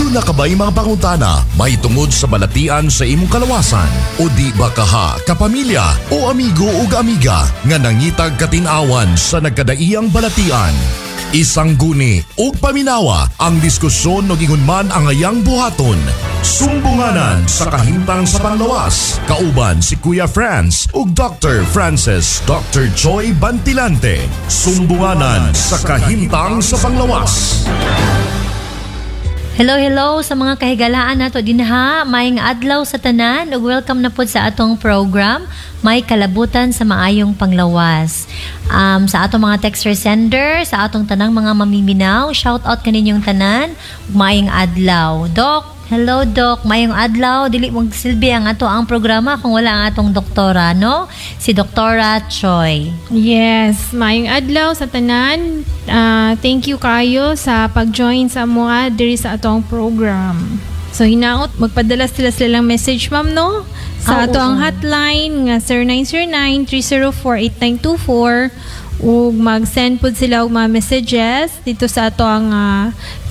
Aduna ka ba'y mga pangutana mahitungod sa balatian sa imong kalawasan? O di ba kaha, kapamilya o amigo ug amiga nga nangitag katin-awan sa nagkadaiyang balatian? Isangguni ug paminawa ang diskusyon ug ingon man ang ayang buhaton. Sumbunganan sa kahimtang sa panglawas. Kauban si Kuya Franz ug Dr. Francis Dr. Joy Bantilante. Sumbunganan sa kahimtang sa panglawas. Hello, hello sa mga kahigalaan nato dinha. Maayong adlaw sa tanan ug welcome na pod sa atong program May Kalabutan sa Maayong Panglawas. Sa atong mga texter sender, sa atong tanang mga mamiminaw, shout out kaninyong tanan. Ug maayong adlaw. Doc, hello Doc, maayong adlaw. Dili magsilbi ang ato ang programa kung wala ang atong doktora, no? Si Doktora Choi. Yes, maayong adlaw sa tanan. Thank you kayo sa pag-join sa amoa diri sa atong program. So hinaot magpadala sila silang message, ma'am, no? Sa ato ang hotline nga 0909-304-8924 ug mag-send pud sila og mga messages dito sa ato ang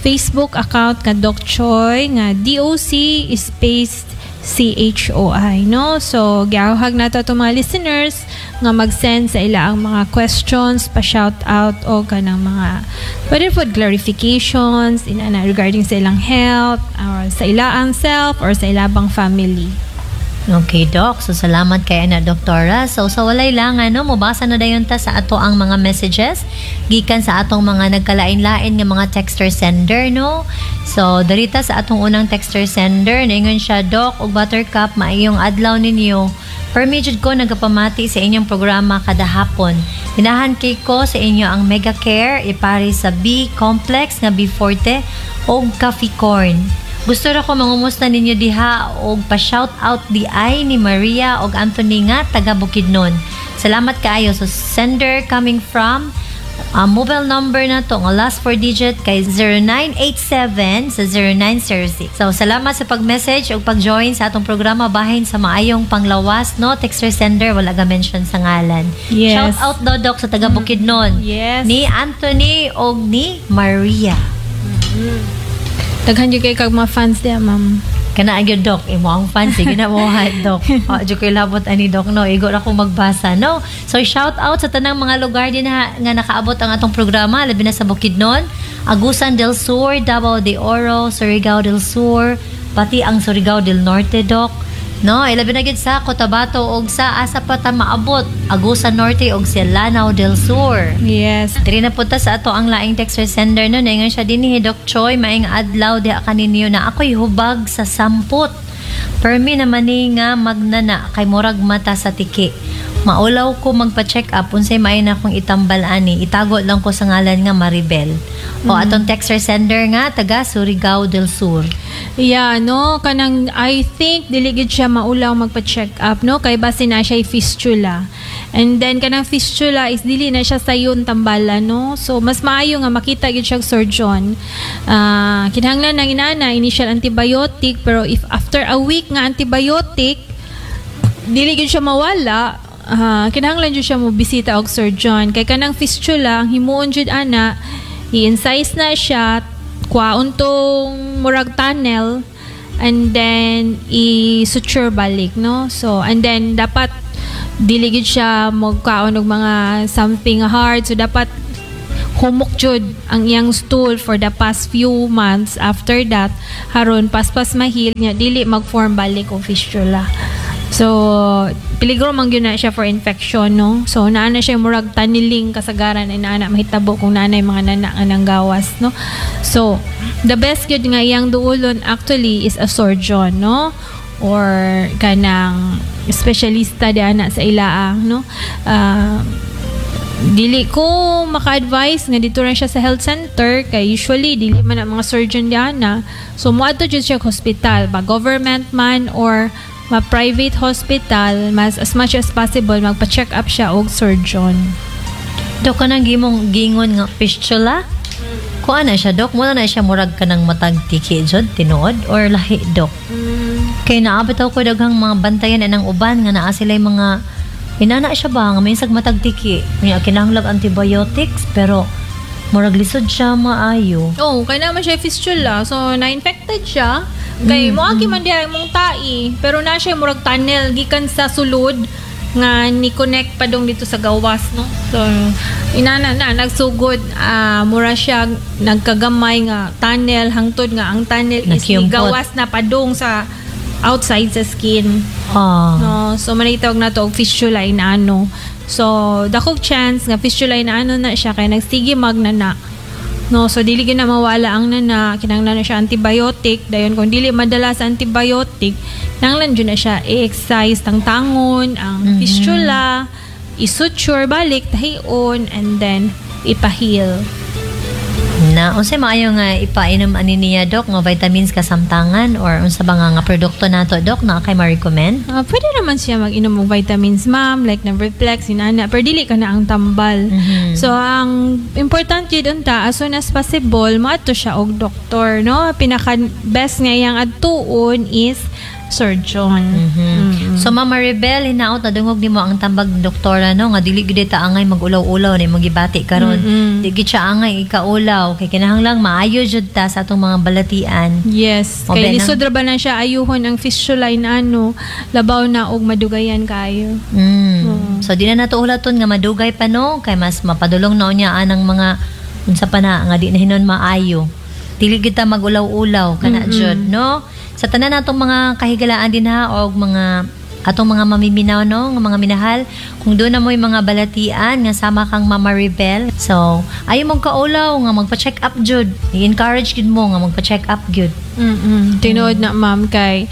Facebook account nga Doc Choi nga DOC space CHOI, no? So giawhag nato atong mga listeners nga mag-send sa ila ang mga questions, pa shout out o kanang mga pwede food clarifications inana regarding sa ilang health or sa ilaang self or sa ilabang family. Okay, Doc. So, salamat kay ana, Doktora. So, sa walay lang, ano, mobasa na dayon ta sa ato ang mga messages gikan sa atong mga nagkalain-lain nga mga texter sender, no? So, darita sa atong unang texter sender, naingon siya, "Doc ug Buttercup, maayong adlaw ninyo. Permi jud ko nagapamati sa inyong programa kada hapon. Ganahan kay ko sa inyo ang Mega Care ipari sa B Complex nga B Forte og Coffee Corn. Gusto ra ko mangumusta ninyo diha og pa-shout out di ay ni Maria og Anthony nga taga Bukidnon. Salamat kaayo." So sender coming from mobile number na to nga last four digit kay 0987 sa 0906. So salamat sa pag-message ug pag-join sa atong programa bahin sa maayong panglawas, no? Texter sender, wala ga mention sa ngalan. Shout out daw, Doc, sa taga Bukidnon. Ni Anthony og ni Maria. Daghan jud kay kag mga fans diya, ma'am. Kana gyud, Doc, imo ang fan, sige na mo, Doc. Oh, jud ko'y labot ani, Doc, no. Igo ra ko magbasa, no. So shout out sa tanang mga lugar din ha, nga nakaabot ang atong programa, labi na sa Bukidnon, Agusan del Sur, Davao de Oro, Surigao del Sur, pati ang Surigao del Norte, Doc. No, ilabi na gid sa Cotabato og sa asa pa ta maabot, Agusan Norte og sa Lanao del Sur. Diri na punta sa ato ang laing texter sender, no. Ningon siya dinhi, "Doc Choi, maayong adlaw diha kaninyo na ako'y hubag sa sampot. Permi naman ni nga magnana kay murag mata sa tiki. Maulaw ko magpa-check up, unsay maayo na akong itambal ani? Itago lang ko sa ngalan nga Maribel." O atong texter sender nga taga Surigao del Sur. Yeah, no, kanang I think dili gid siya maulaw magpa-check up, no, kay base na siya fistula. And then kanang fistula is dili na siya sayon tambalan, no. So mas maayo nga makita gid siya og surgeon. Kinahanglan nang inana initial antibiotic, pero if after a week nga antibiotic dili gid siya mawala, kinahanglan jud siya mo bisita og surgeon kay kanang fistula, ang himuon jud ana, i-incise na siya, kuhaon tong murag tunnel and then i-suture balik, no? So and then dapat dili gid siya magkaon og mga something hard, so dapat humok jud ang iyang stool for the past few months after that haron paspas ma-heal niya, dili mag-form balik og fistula. So peligro man gyud na siya for infection, no? So naa na siya murag tunneling, kasagaran ay naa na mahitabo kung naa na mga nana nga nanggawas, no? So the best gyud nga iyang duolon actually is a surgeon, no, or kanang espesyalista di ana sa ilaa, no? Dili ko maka-advise nga dito ra siya sa health center kay usually dili man ang mga surgeon diana. So moadto jud siya hospital ba, government man or ma private hospital, mas as much as possible magpa-check up siya og surgeon. Dok, kanang gimong gingon nga fistula? Kuan na siya, Dok? Muna na siya murag kanang matag tiki jud, tinuod? Or lahi, Dok? Kay naabot ako daghang mga bantayan anang uban nga naa sila'y mga inana siya ba nga minsag matag tiki. Nya kinahanglag antibiotics pero Murag lisod siya maayo. Oh, kay naman siya fistula. So, na-infected siya. Kay moagi man diha imong tai, pero na siya murag tunnel gikan sa sulod nga ni connect pa dong dito sa gawas, no. So, inana na nagsugod, mura siya nagkagamay nga tunnel hangtod nga ang tunnel is ni Nakiumpot. gawas na padung sa outside sa skin. No, so manitawag na to og fistula in ano. So, dakog chance nga fistula in ano na siya kay nagsige magnana. No, so dili gyud na mawala ang nana, kinahanglan na siya antibiotic. Dayon kung dili madala sa antibiotic, kinahanglan jud na siya i-excise, tangtangon ang fistula, i-suture balik, tahion, and then ipa-heal. Na unsay maayo nga ipainom ani niya, Dok, nga vitamins kasamtangan or unsa ba nga produkto nato, Dok, na kay ma-recommend? Pwede naman siya mag-inom og vitamins, ma'am, like na Reflex, inana, pero dili ka na ang tambal. So, ang important yun unta, as soon as possible, moadto siya og doktor, no? Pinaka best nga iyang adtuon is surgeon. So Mama Rebel, hinaot na dungog nimo ang tambag ni doktora, no, nga dili gid ta angay magulaw-ulaw na imong gibati karon. Di gid siya angay ikaulaw kay kinahanglang maayo jud ta sa atong mga balatian. Yes. O, Kay benang- lisod ra ba na siya ayuhon ang fistula in ano, labaw na og madugayan kayo. So di na nato ulaton nga madugay pa, no, kay mas mapadulong na unya anang mga unsa pa na nga di na hinon maayo. Dili kita magulaw-ulaw kana jud, no. Sa tanan natong mga kahigalaan dinha og mga atong mga mamiminaw, no, nga mga minahal, kung doon na mo'y mga balatian nga sama kang Mama Rebel, so ayo mong kaulaw nga magpa-check up jud. I-encourage gud mo nga magpa-check up gyud. Tinuod na, ma'am, kay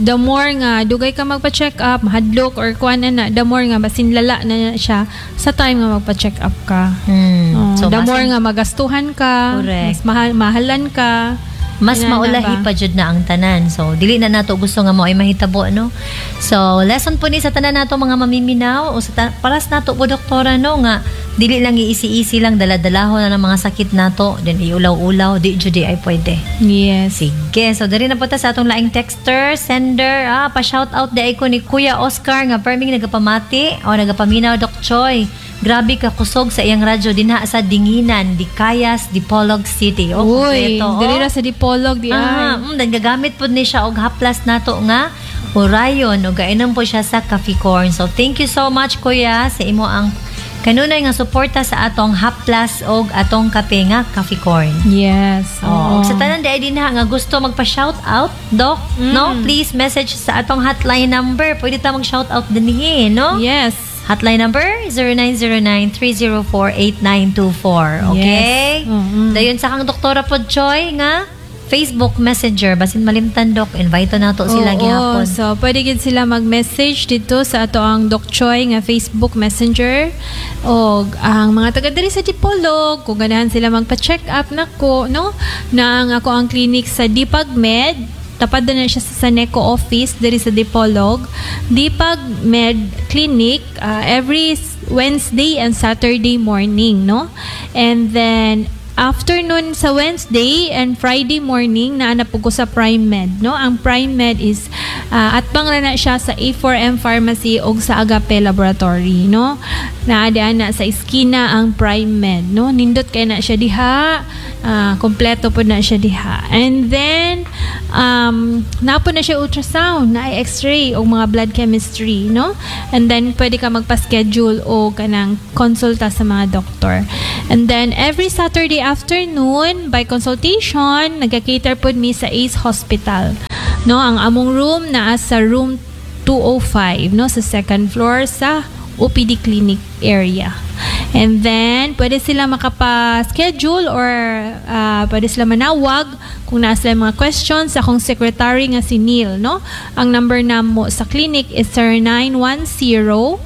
the more nga dugay ka magpa-check up, mahadlok or kuan na na, the more nga basin lala na siya sa time nga magpa-check up ka. Oh, So the basin- more nga magastuhan ka, mas mahal mahalan ka. Mas Inana maulahi ba? pa jud na ang tanan. So dili na nato gusto nga mao ay mahitabo, no. So lesson po ni sa tanan nato mga mamiminaw o sa paras nato po, doktora, no, nga dili lang iisi-isi lang dala-dalahon na ng mga sakit nato then iulaw-ulaw, di jud di ay pwede. Sige, so diri na po ta sa atong laing texter, sender, pa shout out di ay ko ni Kuya Oscar nga perming nagapamati o nagapaminaw, Doc Choi. Grabe ka kusog sa iyang radyo dinha sa Dinginan, Dicayas, Dipolog City. Oh, Uy, kompleto, oh. diri ra sa Dipolog di ay. Dan gagamit pod ni siya og haplas nato nga Orion ug gainom po siya sa Coffee Corn. So thank you so much, Kuya, sa imo ang kanunay nga suporta sa atong haplas og atong kape nga Coffee Corn. Oh, ug sa tanan di ay dinha nga gusto magpa-shout out, Doc, no? Please message sa atong hotline number. Pwede ta mag-shout out dinhi, no? Yes. Hotline number 0909-304-8924. Okay? Yes. Dayon sa kang Doktora pod Choi nga Facebook Messenger, basin malimtan, Doc, invite nato sila Oo, gihapon. So, pwede gid sila mag-message dito sa ato ang Doc Choi nga Facebook Messenger. O ang mga taga diri sa Dipolog, kung ganahan sila magpa-check up nako, no? Na ang ako ang clinic sa Dipag Med, tapad na siya sa Saneco office diri sa Dipolog. Dipag Med Clinic, every Wednesday and Saturday morning, no? And then afternoon sa Wednesday and Friday morning naa na po ko sa Prime Med, no? Ang Prime Med is atbang ra na siya sa A4M Pharmacy og sa Agape Laboratory, no? Naa na sa iskina ang Prime Med, no? Nindot kay na siya diha, kompleto po na siya diha. And then naa po na siya ultrasound, na x-ray o mga blood chemistry, no? And then pwede ka magpa-schedule o kanang konsulta sa mga doktor. And then every Saturday afternoon by consultation, nagka-cater pod mi sa Ace Hospital. No, ang among room naa sa room 205, no, sa second floor sa OPD clinic area. And then, pwede sila makapa-schedule or pwede sila manawag kung naa sila mga questions sa akong secretary nga si Neil, no? Ang number namo sa clinic is 0910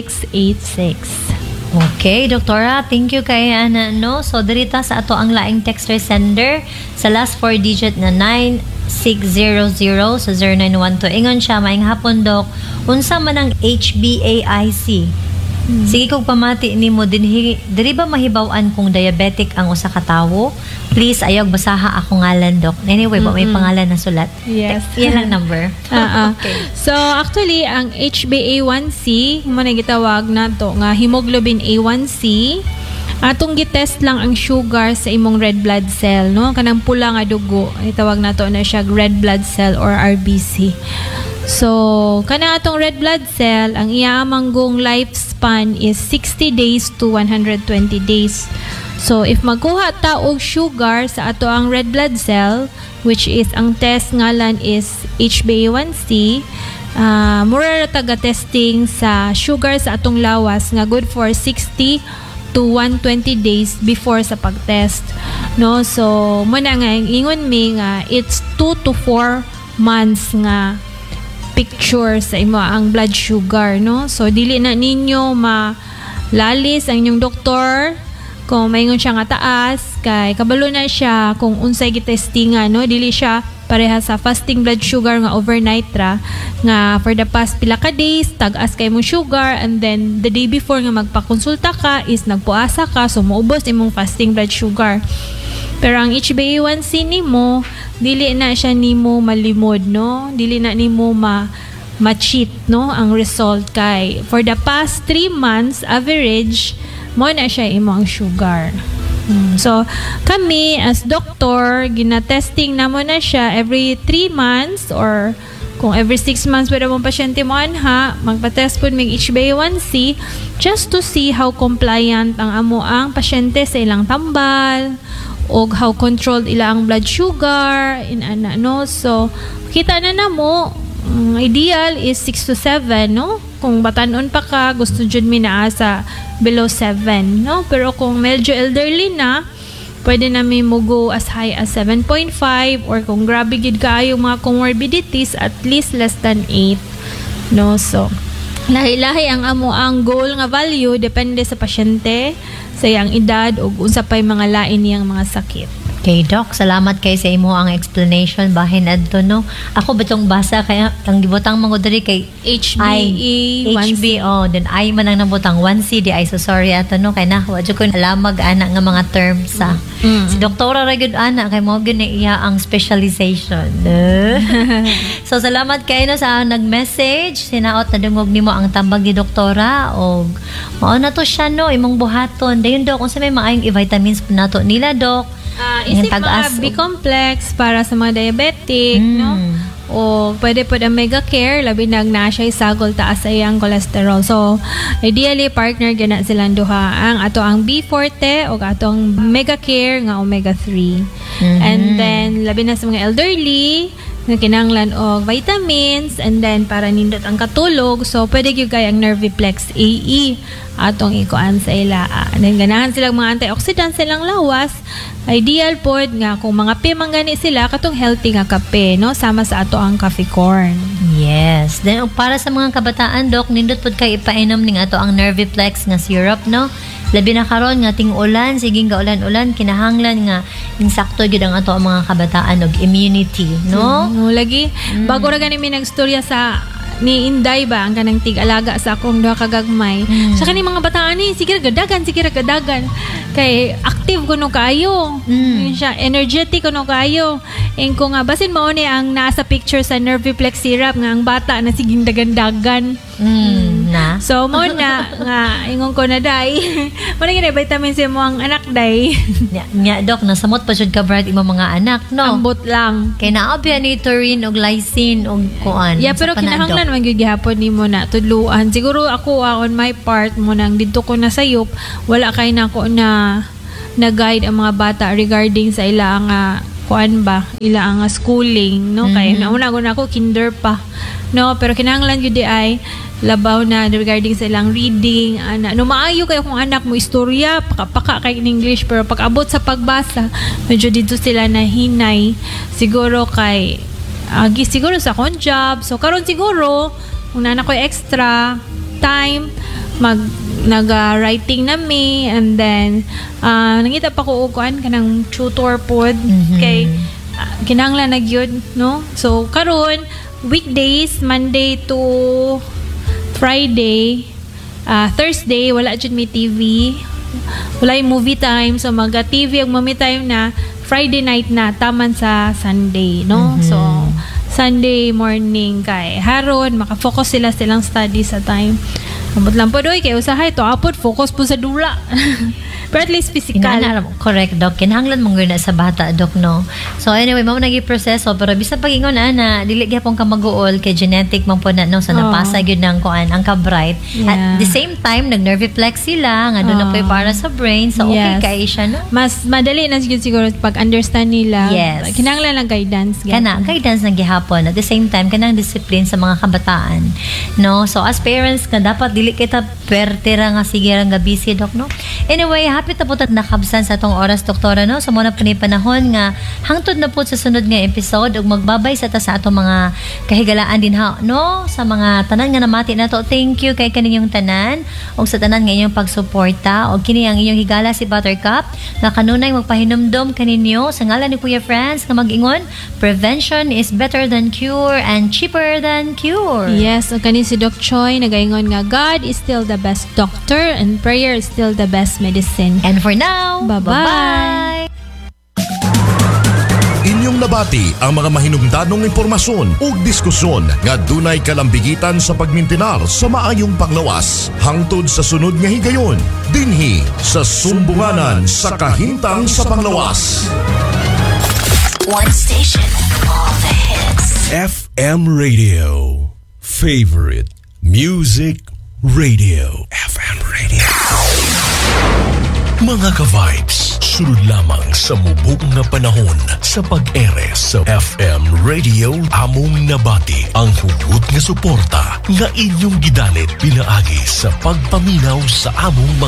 755-9686. Okay, Doktora, thank you kay ana, no. So dirita sa ato ang laing texter sender sa last four digit na 9600 sa 0912. Ingon siya, "Maayong hapon, Doc. Unsa man ang HbA1c?" Sige kog pamati nimo dinhi, diri ba mahibaw-an kung diabetic ang usa ka tawo? Please ayaw basaha ako ngalan, Doc. Anyway, ba may pangalan na sulat. Yes. Yan lang number. Okay. So actually, ang HbA1c mo na gitawag nato nga hemoglobin A1C, atong gitest lang ang sugar sa imong red blood cell, no, kanang pula nga dugo, itawag nato na siya red blood cell or RBC. So kana atong red blood cell, ang iya manggong lifespan is 60 days to 120 days. So if magkuha ta og sugar sa ato ang red blood cell, which is ang test ngalan is HbA1c, mura ra taga testing sa sugar sa atong lawas nga good for 60 to 120 days before sa pagtest, no? So mo na nga ingon mi nga it's 2 to 4 months nga picture sa imo ang blood sugar, no? So dili na ninyo malalis ang inyong doktor kung maingon siya nga taas kay kabalo na siya kung unsay gitestingan, no? Dili siya pareha sa fasting blood sugar nga overnight ra, nga for the past pila ka days tag-as kay imong sugar, and then the day before nga magpakonsulta ka is nagpuasa ka, so moubos imong fasting blood sugar. Pero ang HbA1c nimo, dili na siya nimo malimod, no? Dili na nimo ma ma-cheat, no, ang result kay for the past 3 months average mo na siya imo ang sugar. So kami as doctor, gina-testing namo na siya every 3 months or kung every 6 months pwede mong pasyente mo anha, magpa-test po mig HbA1c just to see how compliant ang amo ang pasyente sa ilang tambal og how controlled ila ang blood sugar in ana, no? So kita na namo, ideal is 6 to 7, no? Kung batanon pa ka, gusto jud mi naa sa below 7, no? Pero kung medyo elderly na, pwede na mi mo go as high as 7.5 or kung grabe gid kaayo mga comorbidities, at least less than 8, no? So lahi-lahi ang amo ang goal nga value depende sa pasyente, sa iyang edad ug unsa pay mga lain niyang mga sakit. Okay, Doc, salamat kay sa imo ang explanation bahin adto, no. Ako bitong basa kaya ang gibutang mga diri kay HbA1c. HB, oh, then I man ang nabutang 1C di ay, so sorry ato, no, kay na wa jud ko alamag ana nga mga terms sa. Si doktora ra gyud ana kay mo gyud na iya ang specialization. So salamat kay no sa nag-message, sinaot na dungog nimo ang tambag ni doktora og mao na to siya, no, imong buhaton. Dayon, Dok, unsa may maayong i-vitamins po nato nila, Dok? Isip Yung mga tag-as B-complex para sa mga diabetic, no? O pwede po ang Mega Care, labi nag na siya sagol taas sa iyang cholesterol. So, ideally, partner gana silang duha. Ang ato ang B Forte o atong Mega Care nga omega 3. And then, labi na sa mga elderly, nga kinahanglan og vitamins and then para nindot ang katulog, so pwede gyud kay ang Nerviplex AE atong ikuan sa ila. And then ganahan sila mga antioxidants sa ilang lawas, ideal pod nga kung mga kape man gani sila, katong healthy nga kape, no, sama sa ato ang coffee corn. Yes. Then ug para sa mga kabataan, Dok, nindot pud kay ipainom ning ato ang Nerviplex nga syrup, no? Labi na karon nga ting-ulan, sige nga ulan-ulan, kinahanglan nga insakto gyud ang ato ang mga kabataan og immunity, no? No, lagi. Bago ra gani mi nagstorya sa ni Inday ba, ang kanang tig-alaga sa akong duha ka gagmay. Sa kani mga bataan ni, sige ra gadagan, sige ra gadagan. Kay active kuno kaayo. Yun siya, energetic kuno kaayo. Ing ko nga basin mao ni ang nasa picture sa Nerviplex syrup nga ang bata na siging dagan-dagan. Na. So mo na nga ingon ko na, day. Mo na gid vitamin C mo ang anak, day. Nya, nya, Dok, nasamot pa jud ka bright imong mga anak, no? Ambot lang. Kay naa ni taurine og lysine og kuan. Yeah, Sa pero pa na, kinahanglan Dok? Man gyud gihapon nimo na tudluan. Siguro ako, on my part mo nang didto ko na sayop, wala kay nako na na guide ang mga bata regarding sa ila nga kuan ba, ila ang schooling, no? Kay nauna ko na ako kinder pa, no? Pero kinahanglan gyud di ay labaw na regarding sa ilang reading ana, no? Maayo kayo kung anak mo istorya, paka-paka kay in English, pero pag abot sa pagbasa medyo dito sila na hinay, siguro kay agi siguro sa akong job. So karon siguro kung naa na ko'y extra time, mag naga writing na mi and then nangita pa ko og kuan, kanang tutor pod kay kinahanglan na gyud, no? So karon weekdays, Monday to Friday. Thursday wala jud may TV, wala yung movie time, so maga TV ang mommy time na Friday night na taman sa Sunday, no? So Sunday morning kay haron maka-focus sila silang study sa time. Ambot lang po doy kay usahay to apod focus po sa dula. Pero at least physical. Inana, correct, Doc. Kinahanglan mong na sa bata, Doc, no? So anyway, mao nagi proseso, pero bisan pag-ingon ana, dili gyapon ka mag-uol kay genetic man po na, no, so Oo. Napasa gyud ng kuan ang ka-bright. At the same time, nag-nerviflex sila nga doon na po Oo. Para sa brain. So okay kay siya, no? Mas madali na siguro siguro pag understand nila. Kinahanglan lang guidance. Kana guidance ng gihapon, at the same time kanang discipline sa mga kabataan, no? So as parents nga dapat dili kita perte ra nga sige ra nga busy, Doc, no? Anyway, hapit na po ta nakabsan sa atong oras, Doktora, no? So mo na po ni panahon nga hangtod na po sa sunod nga episode ug magbabay sa ta sa atong mga kahigalaan din ha, no? Sa mga tanan nga namati nato, thank you kay kaninyong tanan ug sa tanan nga inyong pagsuporta. Og kini ang inyong higala, si Buttercup, nga kanunay magpahinumdom kaninyo sa ngalan ni Kuya Franz nga mag-ingon, "Prevention is better than cure and cheaper than cure." Yes, ug kani si Doc Choi nagaingon nga God is still the best doctor and prayer is still the best medicine. And for now, Bye-bye. Bye-bye. Inyong nabati ang mga mahinungdanong impormasyon ug diskusyon nga dunay kalambigitan sa pagmintinar sa maayong panglawas. Hangtod sa sunod nga higayon, dinhi sa Sumbunganan sa Kahimtang sa Panglawas. One station, all the hits. FM Radio. Favorite Music Radio. FM Radio. Mga ka-vibes, sulod lamang sa mubok nga panahon sa pag-ere sa FM Radio, among nabati ang hugot nga suporta nga inyong gidalit pinaagi sa pagpaminaw sa among mga